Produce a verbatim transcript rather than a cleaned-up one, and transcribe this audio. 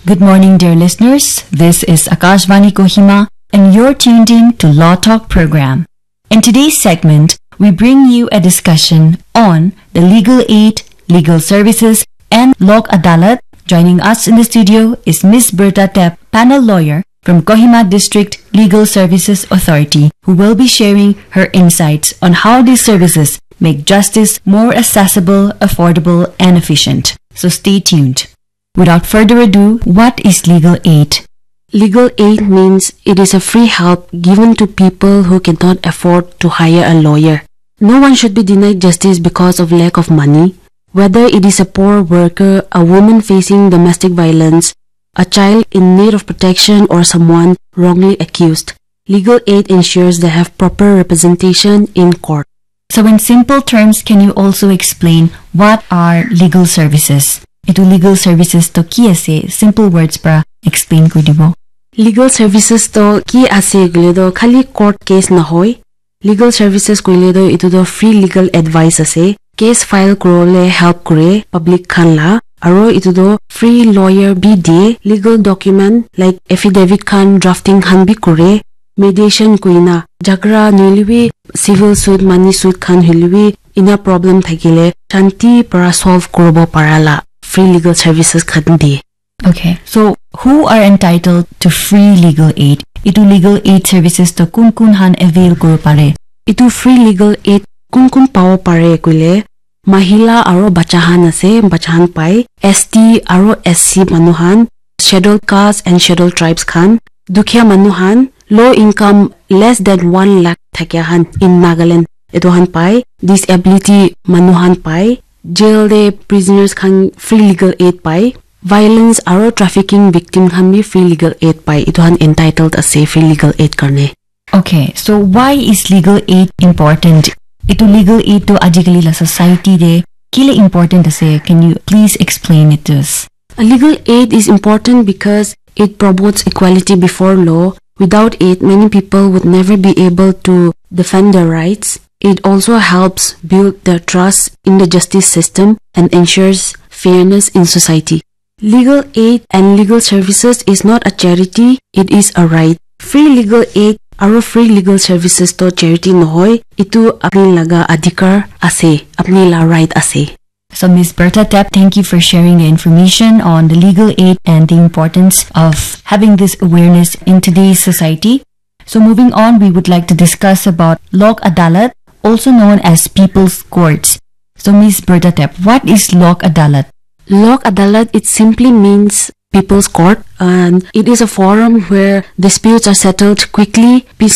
Good morning, dear listeners. This is Akashvani Kohima, and you're tuned in to Law Talk program. In today's segment, we bring you a discussion on the legal aid, legal services, and Lok Adalat. Joining us in the studio is Miss Berta Tep, panel lawyer from Kohima District Legal Services Authority, who will be sharing her insights on how these services make justice more accessible, affordable, and efficient. So stay tuned. Without further ado, what is legal aid? Legal aid means it is a free help given to people who cannot afford to hire a lawyer. No one should be denied justice because of lack of money, whether it is a poor worker, a woman facing domestic violence, a child in need of protection, or someone wrongly accused. Legal aid ensures they have proper representation in court. So in simple terms, can you also explain what are legal services? Etu legal services to ki ase? Simple words para explain kuri dibo. Legal services to ki ase koile to khali court case nahoi. Legal services koile to etu to free legal advice ase. Case file kurole help kure public khan la. Aro etu to free lawyer bi die. Legal document like affidavit khan drafting khan bi kure. Mediation koina jhagara nohoile bi civil suit, money suit khan hoile bi ena problem thakile shanti para solve kuribo para la free legal services khan die. Okay, so who are entitled to free legal aid? Etu legal aid services to kun kun han avail kuri pare? Etu free legal aid kun kun pabo pare koile mahila aro bacha han ase, bacha han pai, S T aro S C manu han, scheduled caste and scheduled tribes khan, dukhia manu han, low income less than one lakh thakia han in Nagaland etu han pai, disability manu han pai, jail de prisoners khan free legal aid pai, violence aro trafficking victim khan bi free legal aid pai. Etu han entitled ase free legal aid karne. Okay, so why is legal aid important? Etu legal aid to ajikali la society de kile important ase? Can you please explain it to us? A legal aid is important because it promotes equality before law. Without it, many people would never be able to defend their rights. It also helps build the trust in the justice system and ensures fairness in society. Legal aid and legal services is not a charity, it is a right. Free legal aid aro free legal services to charity nohoi, etu apni laga adhikar ase, apni la right ase. So, Miss Berta Tep, thank you for sharing the information on the legal aid and the importance of having this awareness in today's society. So, moving on, we would like to discuss about Lok Adalat, also known as People's Courts. So, Miss Berta Tep, what is Lok Adalat? Lok Adalat, it simply means People's Court, and it is a forum where disputes are settled quickly, peacefully,